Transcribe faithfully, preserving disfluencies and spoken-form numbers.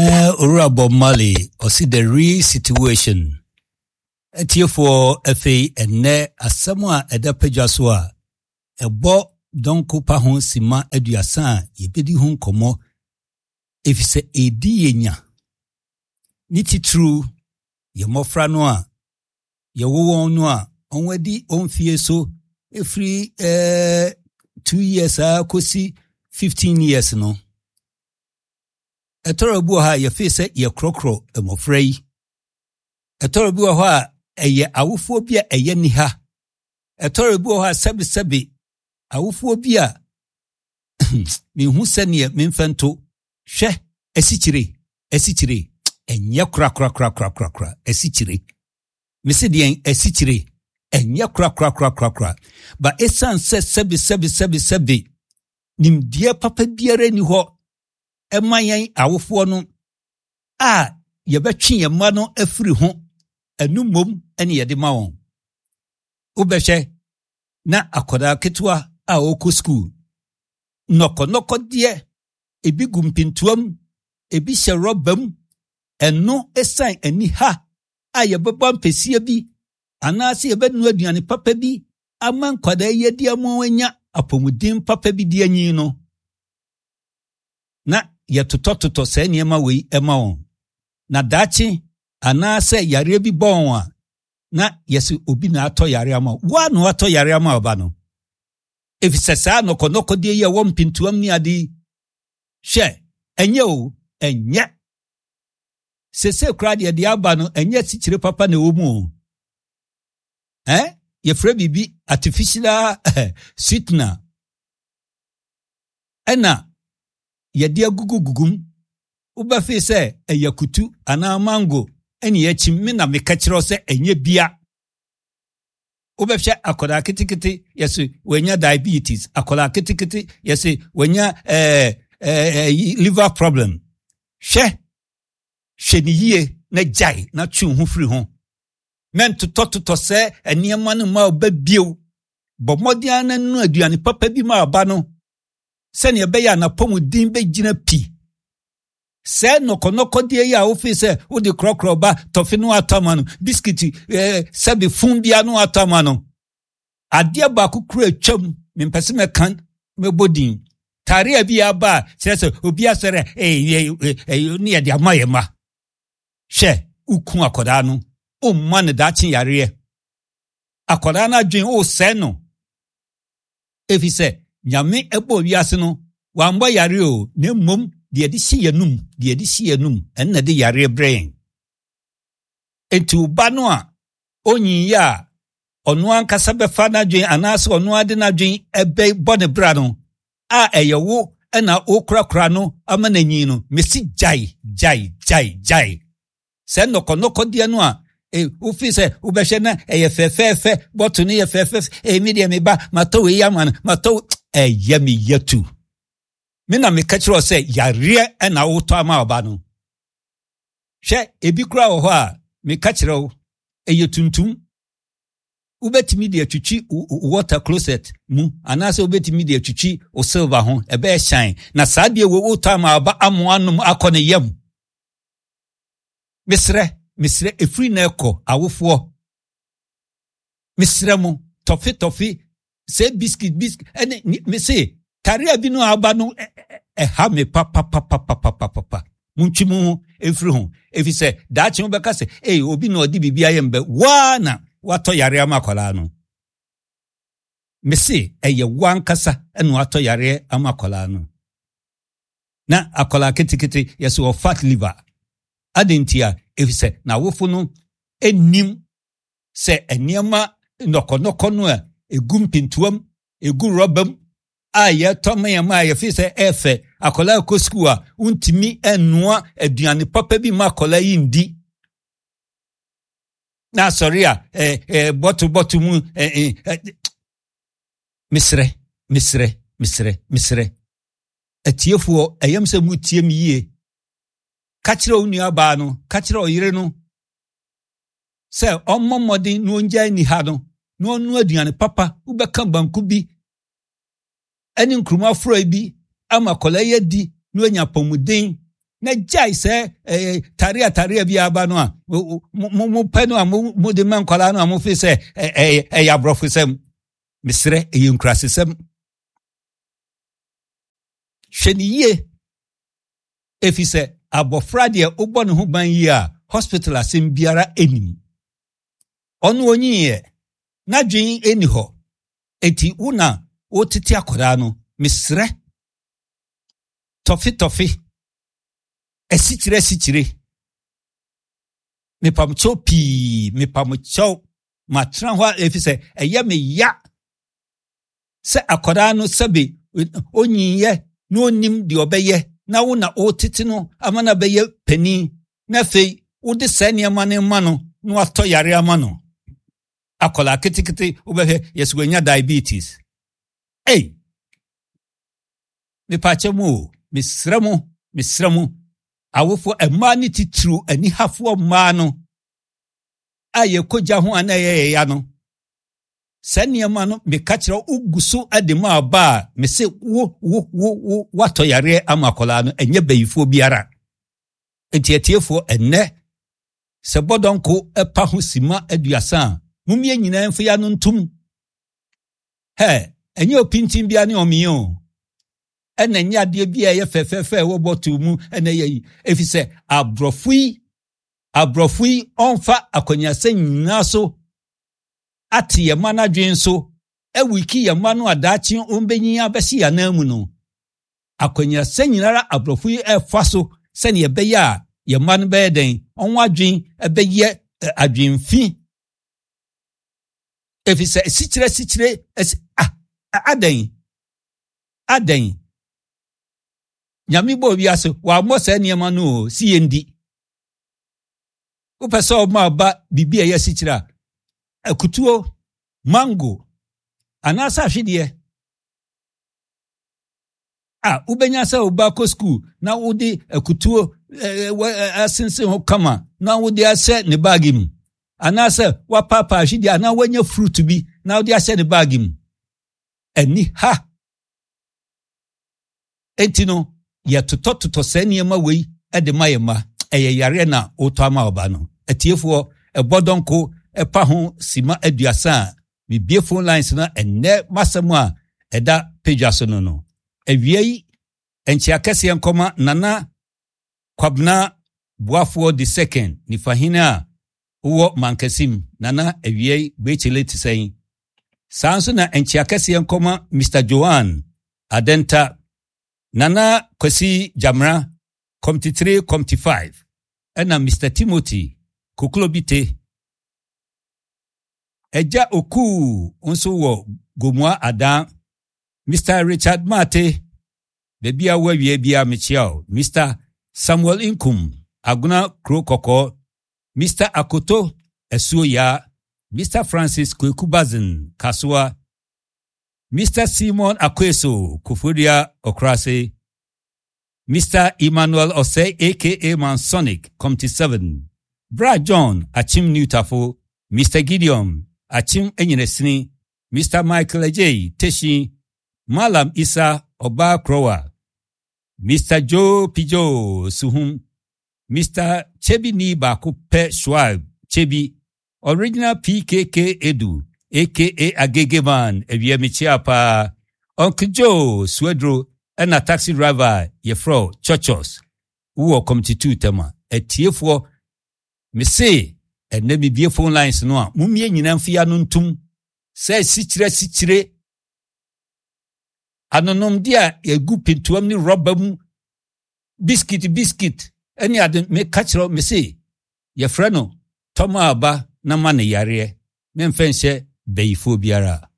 Eh, Owura Bob Marley, ɔsi "The Real Situation". Atiefoɔ, afei ɛnnɛ asɛm a ɛda padwa so a ɛbɔ dɔnko pa ho sima aduasa a yɛbɛdi ho nkɔmmɔ, ɛfiri sɛ ɛdi yɛ nya ne titiriw yɛ mmɔfra no a yɛwo wɔn no a wɔn adi wɔn fie so ɛfiri eh, two years a kɔsi fifteen years no. Ɛtɔrɔ bi wɔ hɔ a yɛfee sɛ yɛkorɔkorɔ mmɔfra yi. Ɛtɔrɔ bi wɔ hɔ a ɛyɛ awofoɔ bi a ɛyɛ niha. Ɛtɔrɔ bi wɔ hɔ a, sɛbesɛbe, awofoɔ bi a mehu sɛneɛ memfa nto hwɛ. Asikyire, asikyire ɛnyɛ korakorakorakorakora. Asikyire, mese deɛn? Asikyire ɛnyɛ korakorakorakorakora ba. Ɛsiane sɛ sɛbe sɛbe sɛbe sɛbe nimdeɛ papa biara ni hɔ ɛma yɛn awofoɔ no a yɛbɛtwe yɛn mma no afiri ho, ɛno mmom ɛne yɛde ma wɔn. Wobɛhwɛ na akwadaa ketewa a ɔrekɔ sukuu, nnɔkɔnnɔkɔdeɛ ebi gu mpintoam, ebi hyɛ rɔba mu. Ɛno ɛsiane ani ha a yɛbɛbɔ mpɛsie bi anaasɛ yɛbɛnoa aduane papa bi ama nkwadaa yi adi ama wɔn anya apɔmuden papa bi di anyi no, na yɛtotɔtotɔ saa nneɛma wei ma wɔn. Na daakye anaasɛ yareɛ bi bɔ wɔn a, na yɛsɛ obi na atɔ yare ama wo a, na watɔ yare ama ɔba no, ɛfiri saa nnɔkɔnnɔkɔdeɛ yi a ɛwɔ mpintoam ne ade yi. Hwɛ, ɛnyɛ o, ɛnyɛ sese koraa deɛ deɛ aba no, ɛnyɛ asikyire papa na ɛwɔ mu o. Ɛn yɛfrɛ biribi artificial sweetener ɛna yɛde agugu mu. Wobɛfee sɛ ɛyɛ kutu anaa mango ɛne yɛakyim. Me na meka kyerɛ sɛ ɛnyɛ bia. Wobɛhwɛ akwadaa ketekete, yɛsɛ wanya diabetes. Akwadaa ketekete, yɛsɛ wanya ɛɛ ɛɛ liver problem. Hwɛ, hwɛ ne yie na gyae na twe wo ho firi ho. Mɛntotɔtotɔ sɛ nneɛma no ma ɔba bio. Bɔ mmɔden ara no aduane papa bi ma ɔba no sɛnea ɛbɛyɛ a n'apɔmuden bɛgyina pi. Sɛ nnɔkɔnnɔkɔdeɛ yi a wofii sɛ wode korɔkorɔ ba, tɔfe no atɔ ama no, biskiti ɛɛ sɛbe fun bia no atɔ ama no, adeɛ baako kura atwam, mempɛ sɛ mɛka mɛbɔ din. Taare bi aba a kyerɛ sɛ obi asɔre ɛɛ ɛɛ ne yɛde ama yɛ ma. Hwɛ, woku akwadaa no, womma no daakye yareɛ. Akwadaa no adwene wosɛe no, ɛfiri sɛ Nyame ɛbɔ wiase no, wambɔ yare o, na mmom deɛ yɛde hyɛ yɛnum, deɛ yɛde hyɛ yɛnum, ɛno na de yareɛ brɛ yɛn. Enti wo ba no a onyiyɛ a ɔno ankasa bɛfa n'adwene anaasɛ ɔno ade n'adwene ɛbɛbɔ ne bra no a, ɛyɛ wo ɛna wokorakora no ama n'anyi no. Mesi gyae, gyae, gyae, gyae sɛ nnɔkɔnnɔkɔdeɛ no a e wofi sɛ wobɛhwɛ na ɛyɛ fɛfɛɛfɛ, bɔto no yɛ fɛfɛɛfɛ. Ɛmi deɛ, me ba, matɔ wei ama no, matɔ. Ɛyɛ me yɛtu me na meka kyerɛ wo sɛ yareɛ ɛna wotɔ ama ɔba no. Hwɛ, ebi koraa wɔ hɔ a meka kyerɛ wo, ɛyɛ tuntum, wobɛtumi de atwitwi water closet mu anaasɛ wobɛtumi de atwitwi wo silver ho, ɛbɛyɛ hyɛn. Na saa deɛ wo wotɔ ama ɔba amoa nom akɔ ne yam. Mesrɛ, mesrɛ, ɛfiri na ɛkɔ awofoɔ, mesrɛ mo, tɔfe tɔfe sɛ biscuit biscuit ɛne mese tareɛ bi no aba no, ɛha me papapapapapapa. Montwi mo ho ɛmfiri ho, ɛfiri sɛ daakye wobɛka sɛ ei, obi na ɔde biribi ayɛ mbɛ waa na watɔ yare ama akwadaa no. Mese ɛyɛ wo ankasa ɛna watɔ yareɛ ama akwadaa no. Na akwadaa ketekete, yɛsɛ wɔ fat liver ade nti a, ɛfiri sɛ n'awofo no anim sɛ nneɛma nnɔkɔnnɔkɔ no a ɛgu mpintoam, ɛgu rɔba mu a yɛtɔ ma yɛn ma a yɛfi sɛ ɛfɛ. Akwadaa kɔ sukuu a, wontumi nnoa aduane papa bi ma akwadaa yi ndi na asɔre a ɛɛ ɛɛ bɔto bɔto mu. ɛɛ ɛɛ mesrɛ, mesrɛ, mesrɛ, mesrɛ atiefoɔ, ɛyɛm sɛ mutie me yie. Ka kyerɛ wo nua no, ka kyerɛ ɔyere no sɛ ɔmmɔ mmɔden na ɔngyae ni ha no na ɔno aduane papa. Wobɛka banku bi ɛne nkuruma forɔ bi ama akwadaa yi adi na wanya apɔmuden. Na gyae sɛ ɛɛ taria taria bi aba no a mo mo pɛ no a mo mo de ma nkwadaa no a mo fi sɛ ɛyɛ ɛyɛ aborɔfosɛm. Mesrɛ, ɛyɛ nkurasesɛm. Hwɛ ne yie, efi sɛ abɔfra deɛ, wobɔ ne ho ban yie a, hospital asɛm biara anim. Ɔno onyiiɛ, n'adwene ɛni hɔ, eti wo na wotete akwadaa no. Mesrɛ, tɔfe tɔfe, asikyire asikyire, mepamkyɛw pii, mepamkyɛw. Matena hɔ a, efi sɛ ɛyɛ me ya sɛ akwadaa no, sɛbe, onyiiɛ na onim deɛ ɔbɛyɛ, na wo na wotete no ama no bɛyɛ panin, na afei wode saa nneɛma no ma no na watɔ yare ama no. Akwadaa ketekete, wobɛhwɛ, yɛsɛ wanya diabetes. Ei, mepaakyɛ mu o, mesrɛ mo, mesrɛ mo, awofoɔ mmaa ne titiriw anihafoɔ mmaa no a yɛkɔgya ho a na ɛyɛ yɛya no, saa nneɛma no, meka kyerɛ, wogu so de ma aba a, mese wo wo wo wo woatɔ yareɛ ama akwadaa no. Ɛnyɛ bayifoɔ biara. Nti atiefoɔ, ɛnnɛ sɛ bɔdɔnko ɛpa ho sima aduasa a, mumie nyinaa mfa ya no ntom hɛ. Ɛnyɛ opintin bia ne ɔmeɛ o, ɛna ɛnyɛ adeɛ bi a ɛyɛ fɛfɛɛfɛ ɛwɔ bɔtol mu ɛna ɛyɛ yi, ɛfiri sɛ aborɔfo yi aborɔfo yi ɔmfa akɔnyasɛ nyinaa so ate yɛn mma n'adwene so, awiki yɛn mma no adaakye ɔmbɛnyin abɛsi yɛn anan mu no. Akɔnyasɛ nyinara aborɔfo yi ɛfa so sɛnea ɛbɛyɛ a yɛn mma no bɛyɛ dɛn, ɔmo adwene ɛbɛyɛ adwenfi, ɛfiri sɛ asikyire asikyire asi ah adɛn adɛn? Nyame bɔ wiase, wammɔ saa nneɛma no o si yɛn di. Wopɛ sɛ ɔma aba biribi a ɛyɛ asikyire a, akutuo, mango anaasɛ ahwedeɛ a wobɛnya sɛ woba kɔ sukuu na wode akutuo asensen ho kama na wode ahyɛ ne baage mu, anaasɛ wapaapa ahwedeɛ anaa wanya fruit bi na wode ahyɛ ne baage mu. Ani ha enti no, yɛtotɔtotɔ saa nneɛma wei de ma yɛn mma. Ɛyɛ yareɛ na wotɔ ama ɔba no. Atiefoɔ, ɛbɔ dɔnko ɛpa ho sima aduasa a, mebie phone lines no ɛnnɛ. Masɛm a ɛda padwa so no no awia yi, nkyea kɛseɛ nkɔma Nana Kwabena Boafoɔ the Second, nifahene a wowɔ Mankasim. Nana, awia yi gbekyele te sɛn? Saa nso na nkyea kɛseɛ nkɔma Mister Joan Adenta, Nana Kwasi Gyamra, Committee three, Committee five, ɛna Mister Timothy Koklobite, Agya Okuu nso wɔ Gomua Adan, Mister Richard Mate, baabi a wɔawie bia mekyia o, Mister Samuel Nkum, Agona Kuro Kɔkɔɔ, Mister Akoto Asuo Yaa, Mister Francis Kweku Bazin Kasoa, Mister Simon Akweso, Koforidua Ɔkorase, Mister Emmanuel Osei A K A Mansonic, Committee seven, Bra John Achim Newtafo, Mister Gideon Achim Enyinasini, Mister Michael Ajay Teshi, Malam Isa Ọba Krowa, Mister Joe Pijo Suhum, Mister Chebi ni baako pɛ Schwab Chebi, Original P K K Edu A K A Agegeman, awia mekyia paa, Uncle Joe Suedro, ɛna taxi driver yɛfrɛ Churchos, wowɔ Committee two Tɛma. Atiefoɔ, mese ɛnɛ mebie phone lines no a, mummie nyinaa mfia no ntom sɛ sikyire sikyire anonomde a yɛgu pintoam ne rɔba mu, biscuit biscuit ɛne ade. Meka kyerɛ, me se yɛfrɛ no tɔma aba na ma ne yareɛ. Memfɛ nhyɛ bayifoɔ biara.